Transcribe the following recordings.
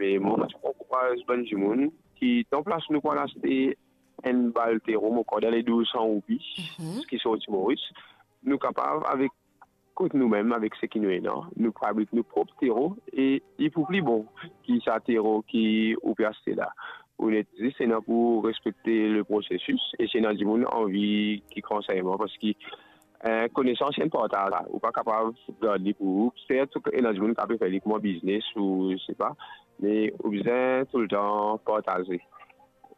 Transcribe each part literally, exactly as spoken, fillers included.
E mwa, mo ti pou ankouraz bann dimoun ki, dan plas nou pou al aste enn bal tero, mo krwar dan le douz san roupi, ki sorti Moris, nou kapav, avek kot noumem, avek seki nou ena, nou fabrik nou prop tero e li pou pli bon ki sa tero ki ou pe aste la. Ou net zis ena pou respekte le prosesis, e si ena dimoun anvi kiksoz, parski, eh, konesans, enn partaz, ou pa kapav gard li pou ou. Sert, ena dimoun ki pe fer li kouma biznes ou, je sais pas, me ou bizin toultan partaze.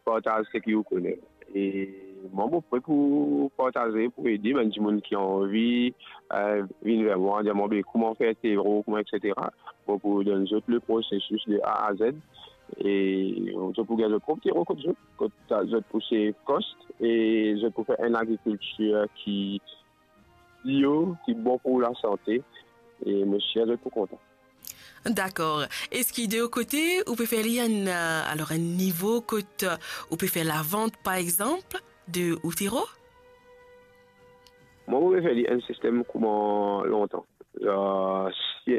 Partaz seki ou kone. E mwa, mo pre pou partaze, pou ede bann dimoun ki anvi, eh, vinn ver mwa, dir mwa, be, kouma fer tero, kouma, et cetera. Mo pou donn zot le prosesis de A à Z. E zot pou gagn zot prop tero kot zot, kot zot pou save kost, e zot pou fer enn lagrikiltir ki bio, ki bon pou lasante. E mo sir zot pou kontan. Dakor. Eski de ou kote, ou pe fer li enn, eh, alor enn nivo kot, eh, ou pe fer lavant, par exanp, de ou tero? Mwa, mo pe fer li enn sistem kouma lontan. Eh, si,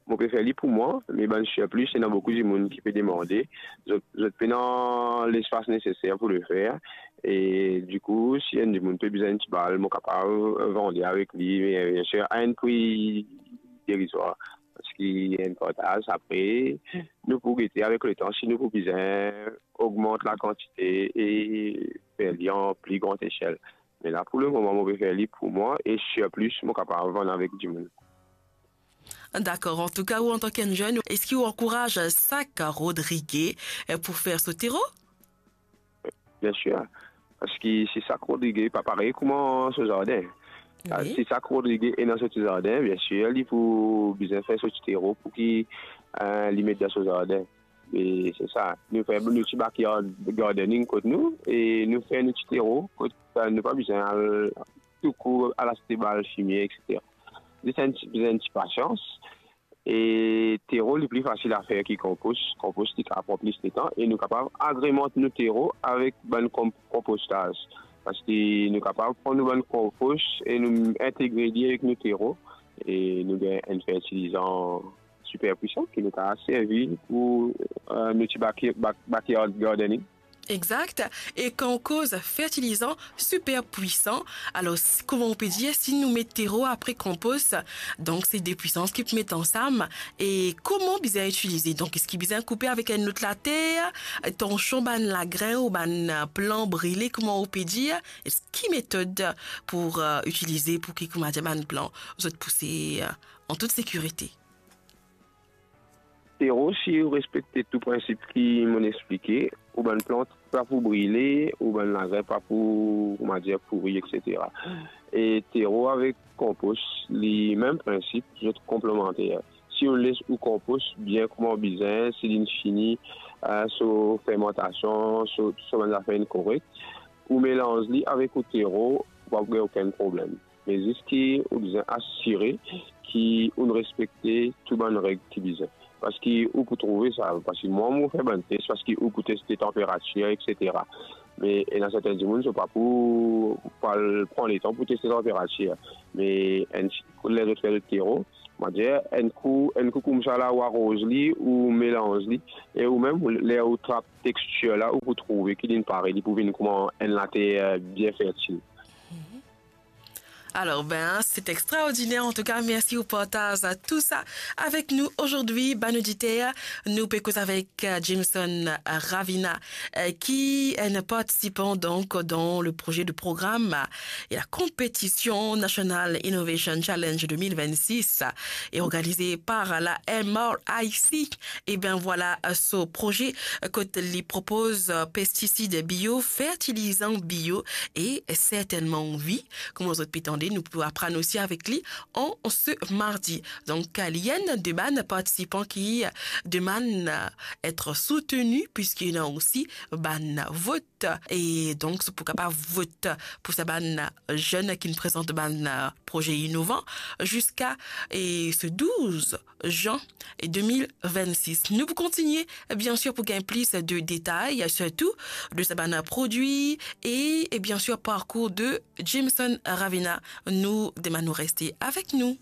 mo pe fer li pou mwa, me bann surplus, ena boukou dimoun ki pe demande. Zot, zot pena lespas neseser pou le fer. E dikou, si enn dimoun pe bizin enn ti bal, mo kapav vann li avek li, me, eh, biensir, a enn pri derizwar. Parski enn partaz, apre, nou pou gete avek letan si nou pou bizin ogmant lakantite e fer li an pli gran esel. Me la, pou lemoman, mo pe fer li pou mwa e surplus, mo kapav vann avek dimoun. Dakor. Antouka, ou antan ki enn zenn, eski ou ankouraz sak Rodrige, eh, pou fer so tero? Biensir. Parski si sak Rodrige pa parey kouma so zardin. Wi. Si sak Rodrige ena so ti zardin, biensir, li pou bizin fer so ti tero pou ki, eh, li met dan so zardin. E se sa. Nou fer nou ti backyard gardening kot nou, e nou fer nou ti tero kot, eh, nou pa bizin al toukour al aste bal fimie, et cetera. Zis enn ti, bizin enn ti pasians. E tero, li pli fasil a fer ki konpos. Konpos, li kapav pran plis letan e nou kapav agremant nou tero avek bann konp-, konpostaz. Parski nou kapav pran nou bann konpos e nou integre li avek nou tero e nou gagn enn fertilizan siper pwisan ki nou kapav servi pou, eh, nou ti baki-, bak-, backyard gardening. Exact. E kan ou koz fertilizan siper pwisan, alor, si, kouma ou pe dir, si nou met tero apre konpos, donk se de pwisans ki pou met ansam. E kouma bizin itilize? Donk, eski bizin koupe avek enn lot later, tansion bann lagrin ou bann, eh, plan brile, kouma ou pe dir? Eski metod pou, eh, itilize pou ki, kouma dir, bann plan zot pouse, eh, an tout sekirite? Tero, si ou respekte tou prinsip ki monn explike, ou bann plant pa pou brile, ou bann lagrin pa pou, kouma dir, pouri, et cetera. E tero avek konpos, li mem prinsip, zot konplemanter. Si ou les ou konpos bien kouma bizin, si linn fini, eh, so fermantasion, so, so bann zafer inn korek, ou melanz li avek ou tero, ou pa pou gagn okenn problem. Me zis ki ou bizin asire ki ou respekte tou bann reg ki bizin. Parski ou pou trouve sa, parski mwa, mo fer bann tes, parski ou pou teste tanperatir, et cetera. Me ena sertin dimoun, zot pa pou, pou al pran letan pou teste tanperatir. Me enn ti kou, ler zot fer zot tero, mo dir, enn kou, enn kou koumsa la, ou aroz li, ou melanz li, e ou mem, ler ou trap tekstir la, ou pou trouve ki linn pare, li pou vinn kouma enn later, eh, bien fertil. Mhm. Alors, ben, c'est extraordinaire. En tout cas, merci pour partage tout ça avec nous aujourd'hui. Bann oditer, nou pe koz avek, euh, Jameson Ravina, euh, qui est un participant donc dans le projet de programme et la compétition National Innovation Challenge deux mille vingt-six et organisé par la M R I C. Eh ben voilà, euh, ce projet, euh, kot li propoz, euh, pestisid bio, fertilizan bio e sertennman vi. Kouma zot pe tande, nou pou aprann osi avek li an se mardi. Donk, li enn de bann partisipan ki demann, euh, et souteni, piski ena osi bann vot. E donk, pou kapav vot pou sa bann zenn ki prezant bann proze inovan, ziska, e, se douz zan de mil vennsis. Nou pou kontinie, bien sir, pou gagn plis de detay, sirtou de sa bann prodwi e, e bien sir, parkour de Jameson Ravina. Nou demann ou reste avek nou.